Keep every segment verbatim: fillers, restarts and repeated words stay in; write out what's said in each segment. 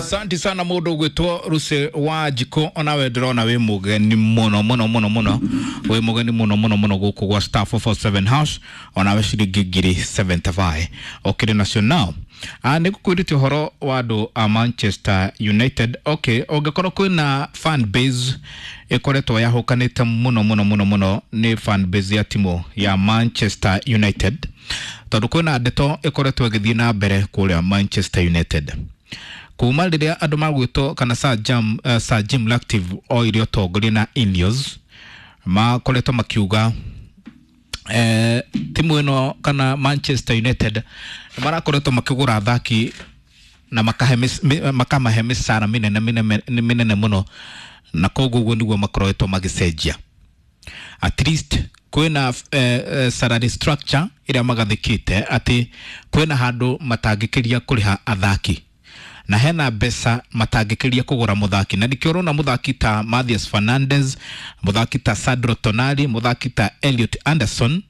Asante sana mundu ugwitwo Ruse wa Njiko, onawe ndĩrona wĩ mũgeni mũno mũno mũno mũno, wĩ mũgeni mũno mũno mũno gũkũ gwa star four four seven hash, onawe ciringi ngiri seventy-five okĩrĩ nacio. Now ah, nĩ ngũkwĩrĩte ũhoro wa andũ a Manchester United. Okay, ũngĩkorwo kwĩna fan base ĩkoretwo yahũkanĩte mũno mũno mũno mũno, nĩ fan base ya timu ya Manchester United, tondũ kwĩna ndeto ĩkoretwo ĩgĩthiĩ na mbere kũrĩa Manchester United kuma rĩrĩa andũ magwĩtwo kana Sir Jim, uh, Sir Jim Ratcliffe oire ũtongoria na Ineos makoretwo makiuga eh, timu ĩno kana Manchester United nĩ marakoretwo makĩgũra athaki na makahe makamahe mĩcara mĩnene mĩnene mĩnene mũno, na koguo ũguo nĩguo makoretwo magĩcenjia. At least kwĩna eh, eh, salary structure ĩrĩa magathĩkĩte atĩ kwĩna handũ matangĩkĩria kũrĩha athaki na hena mbeca matangĩkĩria kũgũra mũthaki, na nĩkĩo ũrona mũthaki ta Mathias Fernandes, mũthaki ta Sandro Tonali, mũthaki ta Elliot Anderson,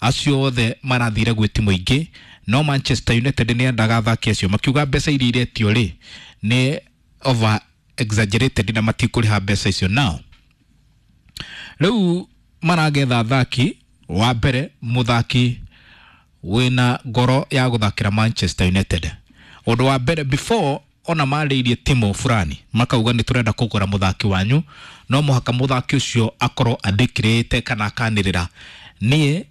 acio othe marathire gwĩ timu ingĩ, no Manchester United nĩ endaga athaki acio, makiuga mbeca iria iretio rĩ nĩ over exaggerated na matikũrĩha mbeca icio. Nao rĩu maragetha athaki, wa mbere mũthaki wĩna ngoro ya gũthakĩra Manchester United. Ũndũ wa mbere, before ona marĩirie timu fulani makauga nĩ tũrenda kũgũra mũthaki wanyu, no mũhaka mũthaki ũcio akorwo andĩkĩrĩte kana akanĩrĩra niĩ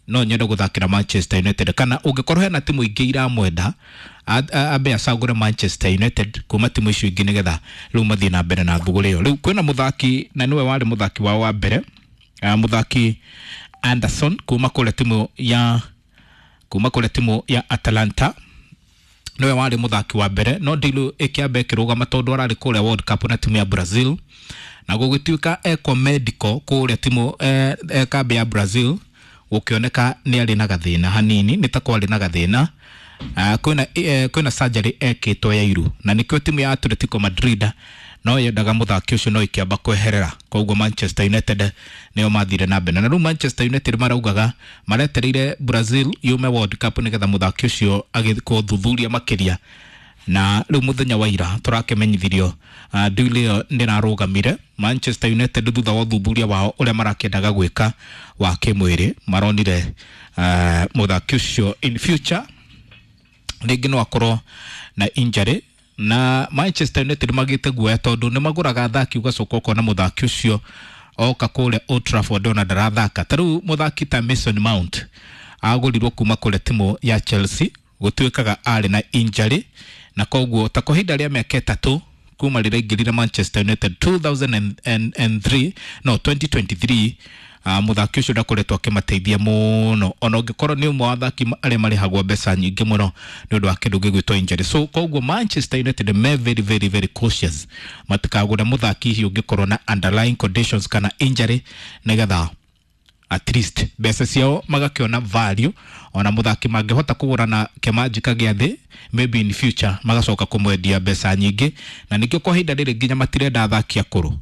no nyende gũthakĩra Manchester United, kana ũngĩkorwo hena timu ingĩ iramwenda ambe acagũre Manchester United kuma timu icio ingĩ nĩgetha rĩu mathiĩ na mbere na thugũrĩ ĩyo. Rĩu kwĩna mũthaki na nĩwe warĩ mũthaki wao wa mbere, mũthaki Anderson kuma kũrĩa timu ya kuma kũrĩa timu ya Atalanta, niwe warĩ mũthaki wa mbere, no deal ĩkĩamba ĩkĩrũgama tondũ ararĩ kũrĩa World Cup na timu ya Brazil, na gũgĩtuĩka ekwo medical kũrĩa timu eh, eh, kambi ya Brazil, gũkĩoneka nĩ arĩ na gathĩna hanini, nĩ ta kwarĩ na gathĩna. Uh, kwĩna eh, kwĩna surgery ekĩtwo ya iru, na nĩkĩo timu ya Atletico Madrid no yendaga mũthaki ũcio no ĩkĩamba kweherera, koguo Manchester United nĩo mathire na mbere. Na rĩu Manchester United maraugaga maretereire Brazil yume World Cup nĩgetha mũthaki ũcio agĩkwo thuthuria makĩria, na rĩu mũthenya wa ira tũrakĩmenyithirio uh, deal ĩyo nĩrarũgamire. Manchester United thutha wa ũthuthuria wao ũrĩa marakĩendaga gwĩka wa kĩmwĩrĩ maronire uh, mũthaki ũcio in future rĩngĩ no akorwo na injury, na Manchester United magĩte guoya tondũ nĩ magũraga athaki ũgacoka ũkona mũthaki ũcio oka kũrĩa Old Trafford ona ndarathaka. Ta rĩu mũthaki ta Mason Mount agũrirwo kuma kũrĩa timu ya Chelsea, gũtuĩkaga arĩ na injury, na koguo ta kwa ihinda rĩa mĩaka ĩtatũ kuma rĩrĩa aingĩrire Manchester United two thousand and three, no twenty twenty-three, uh, mũthaki ũcio ndakoretwo akĩmateithia mũno, ona ũngĩkorwo nĩ ũmwe wa athaki arĩa marĩhagwo mbeca nyingĩ mũno nĩ ũndũ wa kĩndũ gĩgwĩtwo injury. So koguo Manchester United me very very very cautious matikagũre mũthaki hihi ũngĩkorwo na underlying conditions kana injury, nĩgetha at least mbeca ciao magakĩona value, ona mũthaki mangĩhota kũgũra na kĩmanjika gĩa thĩ maybe in future magacoka kũmwendia mbeca nyingĩ. Na nĩkĩo kwa ihinda rĩrĩ nginya matirenda athaki akũrũ,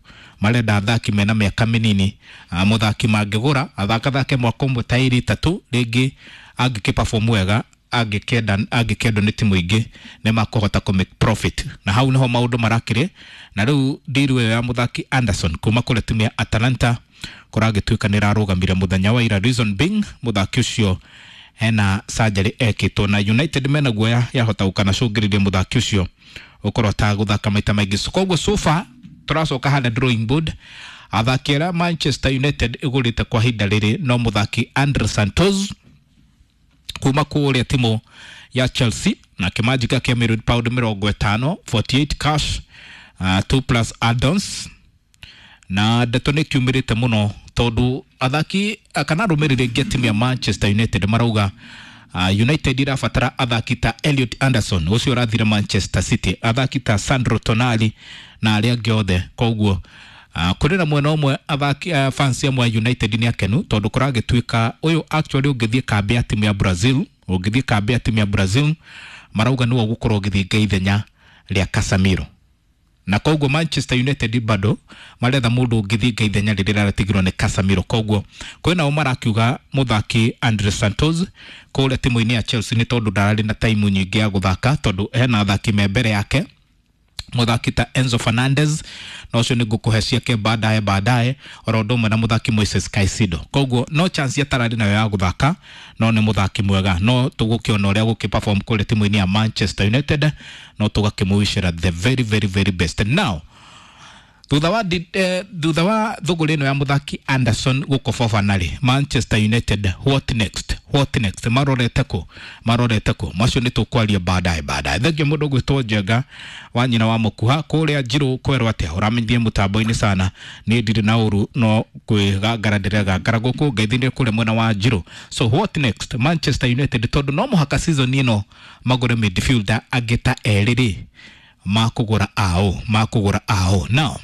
marenda athaki mena mĩaka mĩnini, mũthaki mangĩgũra athakathake mwaka ũmwe ta ĩrĩ ĩtatũ rĩngĩ angĩkĩ perform wega, angĩkenda angĩkendwo nĩ timu ingĩ nĩ makũhota kũ make profit, na hau niho maũndũ marakĩrĩ. Na rĩu deal ĩyo ya mũthaki Anderson kuma kũrĩa timu ya Atalanta kũragĩtuĩka nĩ ĩrarũgamire mũthenya wa ira, reason being mũthaki ũcio hena surgery ekĩtwo, na United mena guoya yahota gũkanacũngĩrĩria mũthaki ũcio ũkorwo atagũthaka maita maingĩ. So koguo so far tũracoka harĩa drawing board, athaki arĩa Manchester United ĩgũrĩte kwa ihinda rĩrĩ no mũthaki Andre Santos kuma kũrĩa timu ya Chelsea na kĩmanjika kĩa million pound mĩrongo ĩtano, forty-eight cash, uh, two plus add-ons, na ndeto nĩ kiumĩrĩte mũno tondũ athaki kana arũmĩrĩri aingĩ a timu ya Manchester United marauga uh, United irabatara athaki ta Elliot Anderson ũcio ũrathire Manchester City, athaki ta Sandro Tonali na arĩa angĩ othe. Koguo uh, kũrĩ na mwena ũmwe athaki uh, fans amwe a United nĩ akenu tondũ kũragĩtuĩka ũyũ actually ũngĩthiĩ kambi ya timu ya Brazil, ũngĩthiĩ kambi ya timu ya Brazil marauga nĩwe ũgũkorwo ũgĩthinga ithenya rĩa Casemiro, Na koguo Manchester United bado maretha mundu ũngĩthinga ithenya rĩrĩa rĩratigirwo nĩ Casemiro. Koguo kwĩna o marakiuga mũthaki Andre Santos kũrĩa timu-inĩ ya Chelsea nĩ tondũ ndararĩ na time nyingĩ ya gũthaka tondũ hena athaki me mbere yake, mũthaki ta Enzo Fernandez na ũcio nĩ ngũkũhe ciake baadaye baadaye, oro ũndũ ũmwe na mũthaki Moises Caicedo. Koguo no chance atararĩ nayo ya gũthaka, no nĩ mũthaki mwega, no tũgũkĩona ũrĩa gũkĩ perform kũrĩa timu-inĩ ya Manchester United, no tũgakĩmũwicĩra the very very very best. Now thutha wa eh, thutha wa thũgũrĩ ĩno ya mũthaki Anderson gũkũ Fofana rĩ, Manchester United what next, what next, marorete kũ, marorete kũ? Macio nĩ tũkwaria baadaye baadaye. Thengiũ mũndũ ũgwĩtwo Njenga wa nyina wa mũkuha kũrĩa Njirũ kwerwo atĩa, ũramenyithie mũtambo-inĩ sana, niĩ ndirĩ na ũru no kwĩgangara ndĩregangara gũkũ ngeithĩrie kũrĩa mwena wa Njirũ. So what next Manchester United, tondũ no mũhaka season ĩno magũre midfielder angĩ ta erĩ rĩ, makũgũra ao makũgũra ao. Now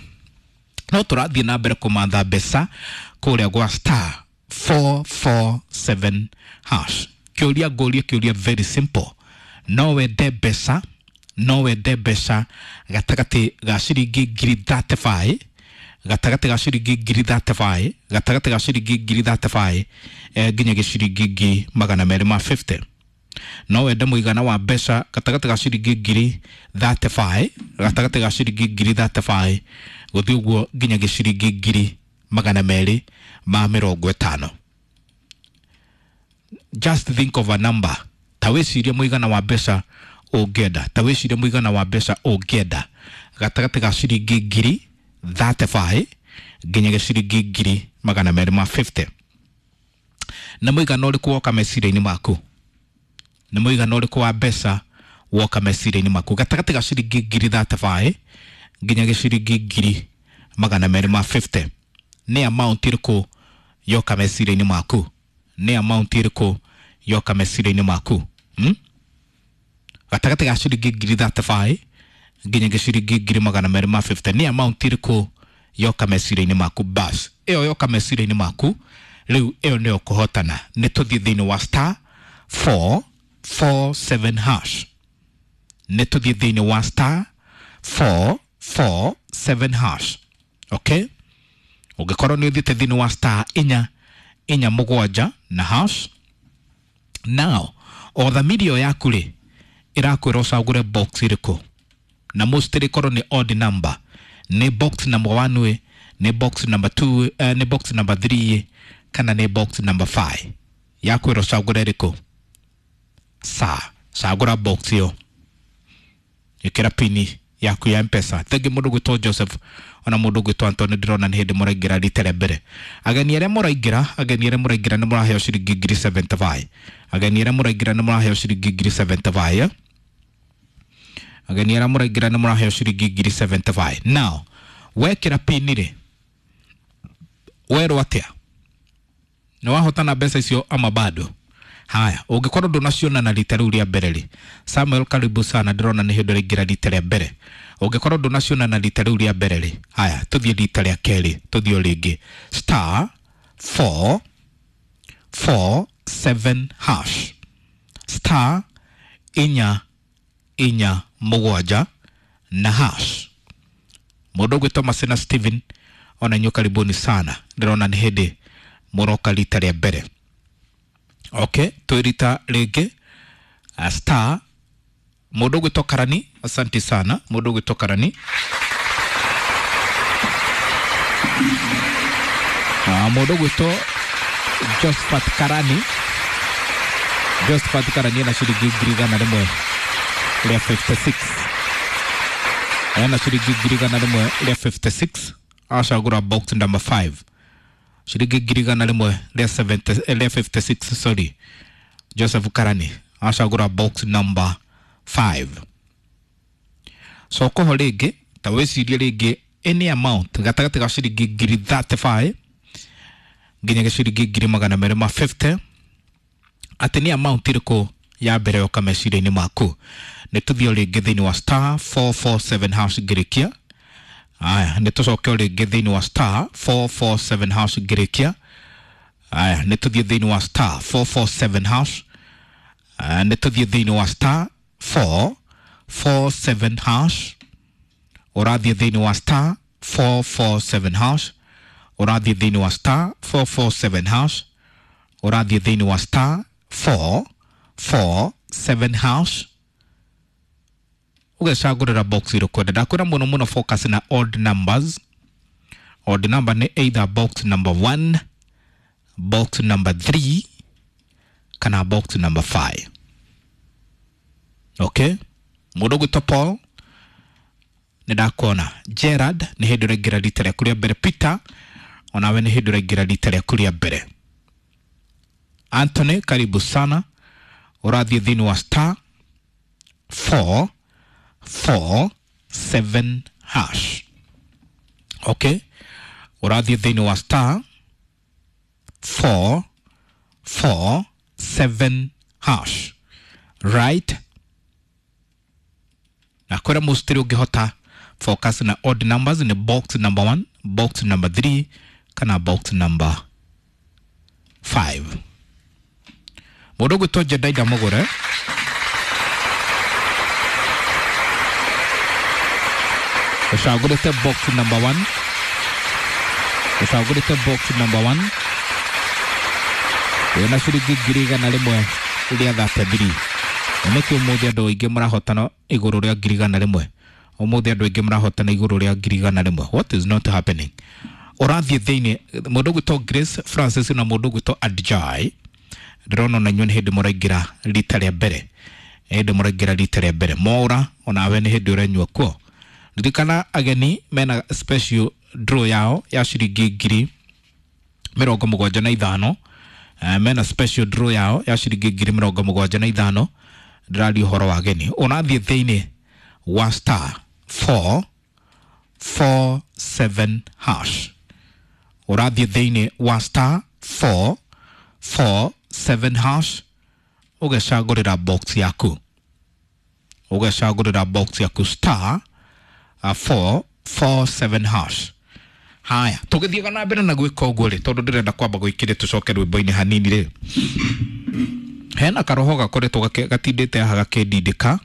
no tũrathiĩ na mbere kũmantha mbeca kũrĩa gwa star four four seven hash. Kĩũria ngũrie kĩũria very simple, no wende mbeca, no wende mbeca gatagatĩ ga ciringi ngiri thirty five, gatagatĩ ga ciringi ngiri thirty five, gatagatĩ ga ciringi ngiri thirty five eh, nginya gĩciringi ngiri magana merĩ ma fifty. No wende mũigana wa mbeca gatagatĩ ga ciringi ngiri thirty five, gatagatĩ ga ciringi ngiri thirty five gũthiĩ ũguo nginya gĩciringi ngiri magana merĩ ma mĩrongo ĩtano. Just think of a number. Ta wĩcirie mũigana wa mbeca ũngĩenda, ta wĩcirie mũigana wa mbeca ũngĩenda gatagatĩ ga ciringi ngiri thirty five nginya gĩciringi ngiri magana merĩ ma fifty. Nĩ mũigana ũrĩkũ woka meciria-inĩ maku? Nĩ mũigana ũrĩkũ wa mbeca woka meciria-inĩ maku gatagatĩ ga ciringi ngiri thirty five nginya gĩciringi ngiri magana merĩ ma fifty? Nĩ amount ĩrĩkũ yoka meciria-inĩ maku? Nĩ amount ĩrĩkũ yoka meciria-inĩ maku? Hmm? Gatagatĩ ga ciringi ngiri thirty five nginya gĩciringi ngiri magana merĩ ma fifty, nĩ amount ĩrĩkũ yoka meciria-inĩ maku? Bas ĩyo yoka meciria-inĩ maku rĩu ĩyo nĩyo kũhotana. Nĩ tũthiĩ thĩinĩ wa star four four seven hash, nĩ tũthiĩ thĩinĩ wa star four four seven hash. Okay, ũngĩkorwo nĩ ũthiĩte thĩinĩ wa star inya inya mũgwanja na hash, now o thamiri ĩyo yaku rĩ ĩrakwĩra ũcagũre box ĩrĩkũ, na mostly ĩkorwo nĩ odd number, nĩ box number one ĩ, nĩ box number two, eh, nĩ box number three kana nĩ box number five. Yakwĩra ũcagũre ĩrĩkũ? Sa cagũra box ĩyo, ĩkĩra pini yaku ya M-Pesa. Thengi mũndũ gwĩtwo Joseph ona mũndũ gwĩtwo Anthony, ndĩrona nĩ hĩndĩ mũraingĩra rita rĩa mbere. Ageni arĩa mũraingĩra, ageni arĩa mũraingĩra nĩ mũraheo ciringi ngiri seventy five. Ageni arĩa mũraingĩra nĩ mũraheo ciringi ngiri seventy five. Ageni arĩa mũraingĩra nĩ mũraheo ciringi ngiri seventy five. Now wekĩra pini rĩ, werwo atĩa? Nĩ wahotana mbeca icio ama bado? Haya, ũngĩkorwo ndũnaciona na rita rĩu rĩa mbere rĩ, Samuel karibu sana, ndĩrona nĩ hĩndĩ ũraingĩra rita rĩa mbere. Ũngĩkorwo ndũnaciona na rita rĩu rĩa mbere rĩ, haya tũthiĩ rita rĩa kerĩ, tũthiĩ o rĩngĩ star four four seven hash, star inya inya mũgwanja na hash. Mũndũ ũgwĩtwo Masena Steven, ona inyuĩ karibuni sana, ndĩrona nĩ hĩndĩ mũroka rita rĩa mbere. Okay, twĩrita rĩngĩ star mũndũ ũgwĩtwo Karani, asante sana mũndũ ũgwĩtwo Karani. Ah, mũndũ ũgwĩtwo Josephat Karani, Josephat Karani ena ciringi ngiri igana rĩmwe rĩa fifty six, ena ciringi ngiri igana rĩmwe rĩa fifty six, acagũra box number five, ciringi ngiri igana rĩmwe rĩa seventy, rĩa fifty six, sorry, Joseph Karani acagũra box number five. So koho rĩngĩ ta wĩcirie rĩngĩ any amount gatagatĩ ga ciringi ngiri thirty five nginya gĩciringi ngiri magana merĩ ma fifty, atĩ nĩ amount ĩrĩkũ ya mbere yoka meciria-inĩ maku? Nĩ tũthiĩ o rĩngĩ thĩinĩ wa star four four seven hash ngĩrĩkia. Aya, nĩ tũcoke o rĩngĩ thĩinĩ wa star four four seven hash ngĩrĩkia. Aya, nĩ tũthiĩ thĩinĩ wa star four four seven hash. Aya, nĩ tũthiĩ thĩinĩ wa star four four seven hash. Ũrathiĩ thĩinĩ wa star four four seven hash, ũrathiĩ thĩinĩ wa star four four seven hash, ũrathiĩ thĩinĩ wa star four four seven hash, ũgecagũrĩra box ĩrĩa ũkwenda. Ndakwĩra mũno mũno focus na odd numbers. Odd number nĩ either box number one, box number three kana box number five. Okay, mũndũ ũgwĩtwo Paul nĩ ndakuona. Gerard nĩ hĩndĩ ũraingĩra rita rĩaku rĩa mbere. Peter onawe nĩ hĩndĩ ũraingĩra rita rĩaku rĩa mbere. Anthony karibu sana, ũrathiĩ thĩinĩ wa star four four seven hash. Okay, ũrathiĩ thĩinĩ wa star four four seven hash, right? Na kwĩra mũcitĩrĩ ũngĩhota focus na odd numbers ni box number one, box number three kana box number five. Mũndũ ũgwĩtwo Jedaida Mũgũre ũcagũrĩte box number one, ũcagũrĩte box number one wĩna ciringi ngiri igana rĩmwe rĩa thate thiri. Nĩkĩ ũmũthĩ andũ aingĩ marahotana igũrũ rĩa ngiri igana rĩmwe? Ũmũthĩ andũ aingĩ marahotana igũrũ rĩa ngiri igana rĩmwe. What is not happening? Ũrathiĩ thĩinĩ mũndũ ũgwĩtwo Grace Francis na mũndũ ũgwĩtwo Adjai, ndĩrona ona inyuĩ nĩ hĩndĩ mũraingĩra rita rĩa mbere, hĩndĩ mũraingĩra rita rĩa mbere. Mwaũra onawe nĩ hĩndĩ ũrenyua kuo. Ririkana ageni mena special draw yao ya ciringi ngiri mĩrongo mũgwanja na ithano. Uh, mena special draw yao ya ciringi ngiri mĩrongo mũgwanja na ithano. Ndĩraria ũhoro wa ageni. Ũrathiĩ thĩinĩ wa star four four seven hash, ũrathiĩ thĩinĩ wa star four four seven hash, ũgecagũrĩra box yaku, ũgecagũrĩra box yaku star uh, four four seven hash. Haya, tũgĩthiaga na mbere na gwĩka ũguo rĩ, tondũ ndĩrenda kwamba gwĩkĩre tũcoke rwĩmbo-inĩ hanini rĩ, hena karoho gakoretwo gatindĩte haha gakĩndindĩka,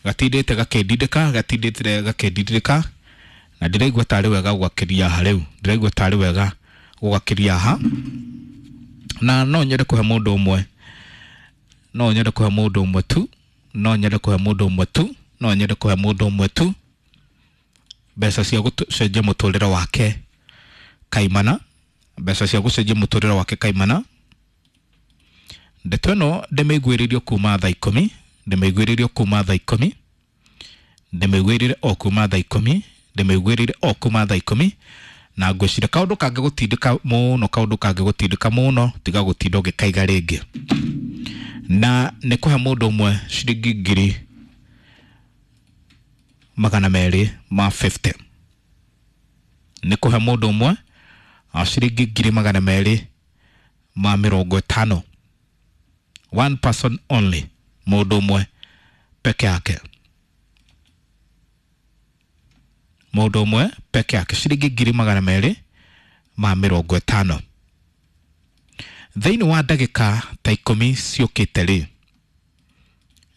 gatindĩte gakĩndindĩka, gatindĩte gakĩndindĩka, na ndĩraigua tarĩ wega gũgakĩria haha rĩu, ndĩraigua tarĩ wega gũgakĩria haha, na no nyende kũhe mũndũ ũmwe, no nyende kũhe mũndũ ũmwe tu, no nyende kũhe mũndũ ũmwe tu, no nyende kũhe mũndũ ũmwe tu mbeca cia gũcenjia mũtũrĩre wake kaimana, mbeca cia gũcenjia mũtũrĩre wake kaimana. Ndeto ĩno ndĩmĩiguĩrĩirio kuma thaa ikũmi, ndĩmĩiguĩrĩirio kuma thaa ikũmi, ndĩmĩiguĩrĩire o kuma thaa ikũmi, ndĩmĩiguĩrĩire o kuma thaa ikũmi, na ngwĩciria kaũndũ kangĩgũtindĩka mũno, kaũndũ kangĩgũtindĩka mũno, tiga gũtinda ũgĩkaiga rĩngĩ. Na nĩ kũhe mũndũ ũmwe ciringi ngiri magana merĩ ma fifty. Nĩ kũhe mũndũ ũmwe ciringi ngiri magana merĩ ma mĩrongo ĩtano. One person only, mũndũ ũmwe peke yake, mũndũ ũmwe peke yake ciringi ngiri magana merĩ ma mĩrongo ĩtano. Thĩinĩ wa ndagĩka ta ikũmi ciũkĩte rĩ,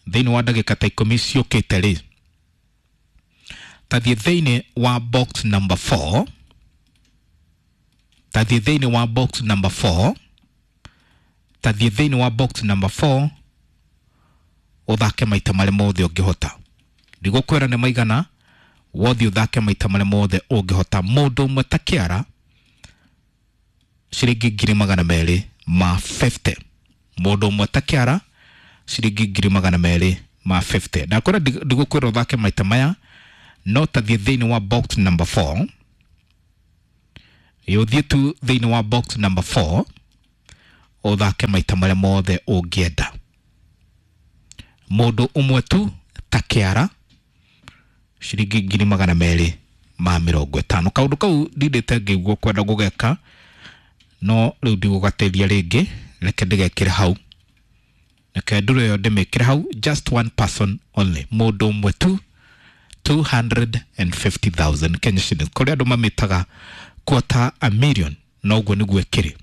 thĩinĩ wa ndagĩka ta ikũmi ciũkĩte rĩ, tathiĩ thĩinĩ wa box number four, tathiĩ thĩinĩ wa box number four, tathiĩ thĩinĩ wa box number four, ũthake maita marĩa mothe ũngĩhota. Ndigũkwĩra nĩ maigana, wothe ũthake maita marĩa mothe ũngĩhota. Mũndũ ũmwe ta kĩara ciringi ngiri magana merĩ ma fifty. Mũndũ ũmwe ta kĩara ciringi ngiri magana merĩ ma fifty. Ndakwĩra ndigũkwĩra ũthake maita maya, no tathiĩ thĩinĩ wa box number four, ũthiĩ tu thĩinĩ wa box number four, ũthake maita marĩa mothe ũngĩenda. Mũndũ ũmwe tu ta kĩara ciringi ngiri magana merĩ ma mĩrongo ĩtano. Kaũndũ kau ndindĩte ngĩigua kwenda gũgeka, no rĩu ndigũgateithia rĩngĩ, reke ndĩgekĩre hau, reke ndũre ĩyo ndĩmĩkĩre hau. Just one person only, mũndũ ũmwe tu, two hundred and fifty thousand Kenya shillings. Kũrĩa andũ mamĩtaga quarter a million, no ũguo nĩguo ĩkĩrĩ.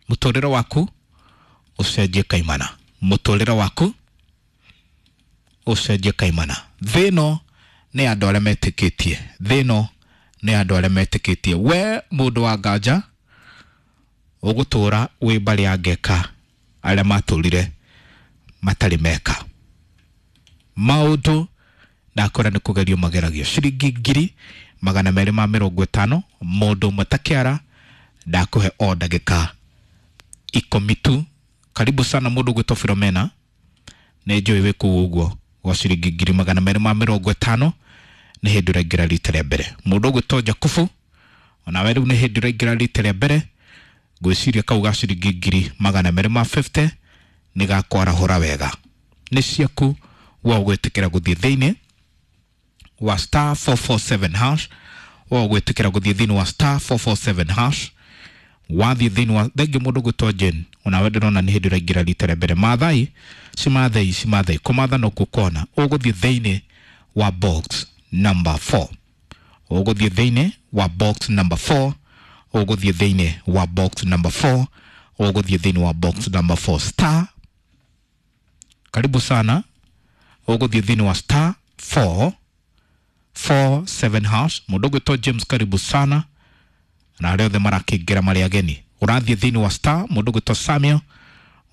Mũtũrĩre waku ũcenjie kaimana, mũtũrĩre waku Ũcenjie kaimana. Thĩ ĩno nĩ andũ arĩa metĩkĩtie, thĩ ĩno nĩ andũ arĩa metĩkĩtie. We mũndũ wa nganja ũgũtũra wĩ mbarĩ ya ngeka arĩa matũrire matarĩ meka maũndũ. Ndakora nĩ kũgerio mageragio. Ciringi ngiri magana merĩ ma mĩrongo ĩtano mũndũ ũmwe ta kĩara, ndakũhe o ndagĩka ikũmi tu. Karibu sana mũndũ ũgwĩtwo Filomena, nĩ njũĩ wĩ kũu ũguo gwa ciringi ngiri magana merĩ ma mĩrongo ĩtano, nĩ hĩndĩ ũraingĩra rita rĩa mbere. Mũndũ ũgwĩtwo Jakubu, onawe rĩu nĩ hĩndĩ ũraingĩra rita rĩa mbere. Ngwĩciria kau ga ciringi ngiri magana merĩ ma mĩrongo ĩtano nĩ gakwarahũra wega. Nĩ ciaku wa ũgwĩtĩkĩra gũthiĩ thĩinĩ wa star four four seven hash, wa ũgwĩtĩkĩra gũthiĩ thĩinĩ wa star four four seven hash. Wathiĩ thĩinĩ wa thengiũ. Mũndũ ũgwĩtwo Jane, onawe ndĩrona nĩ hĩndĩ ũraingĩra rita rĩa mbere. Maathai cimathei cimathei kũmatha no kũkona. Ũgũthiĩ thĩinĩ wa box number four, ũgũthiĩ thĩinĩ wa box number four, ũgũthiĩ thĩinĩ wa box number four, ũgũthiĩ thĩinĩ wa box number four, star. Karibu sana. Ũgũthiĩ thĩinĩ wa star four four seven hash. Mũndũ ũgwĩtwo James, karibu sana, na arĩa othe marakĩingĩra marĩ ageni. Ũrathiĩ thĩinĩ wa star. Mũndũ ũgwĩtwo Samuel,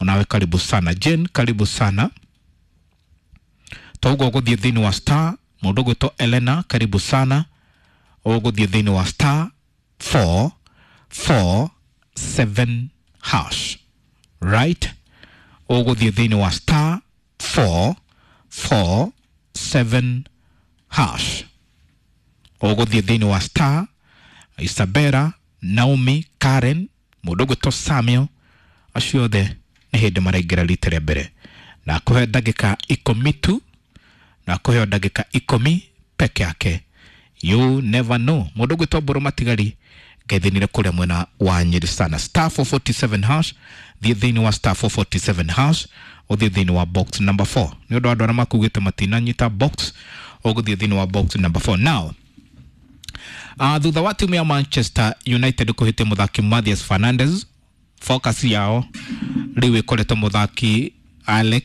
onawe karibu sana. Jane, karibu sana. Toguo ũgũthiĩ thĩinĩ wa star. Mũndũ ũgwĩtwo Elena, karibu sana. Ũgũthiĩ thĩinĩ wa star four four seven hash, right? Ũgũthiĩ thĩinĩ wa star four four seven hash, ũgũthiĩ thĩinĩ wa star. Isabella, Naomi, Karen, mũndũ ũgwĩtwo Samuel, acio othe nĩ hĩndĩ maraingĩra rita rĩa mbere. Na kũhe ndagĩka ikũmi tu, na kũheo ndagĩka ikũmi peke yake. You never know. Mũndũ ũgwĩtwo Mbũrũ Matigari, ngethinire kũrĩa mwena wa Nyĩrĩ sana. Star four forty-seven hash, thiĩ thĩinĩ wa star four forty-seven hash, ũthiĩ thĩinĩ wa box number four. Nĩ ũndũ wa andũ arĩa makugĩte matinanyita box, ũgũthiĩ thĩinĩ wa box number four now. Uh, thutha wa timu ya Manchester United kũhĩtia mũthaki Mathias Fernandes, focus yao rĩu ĩkoretwo mũthaki Alex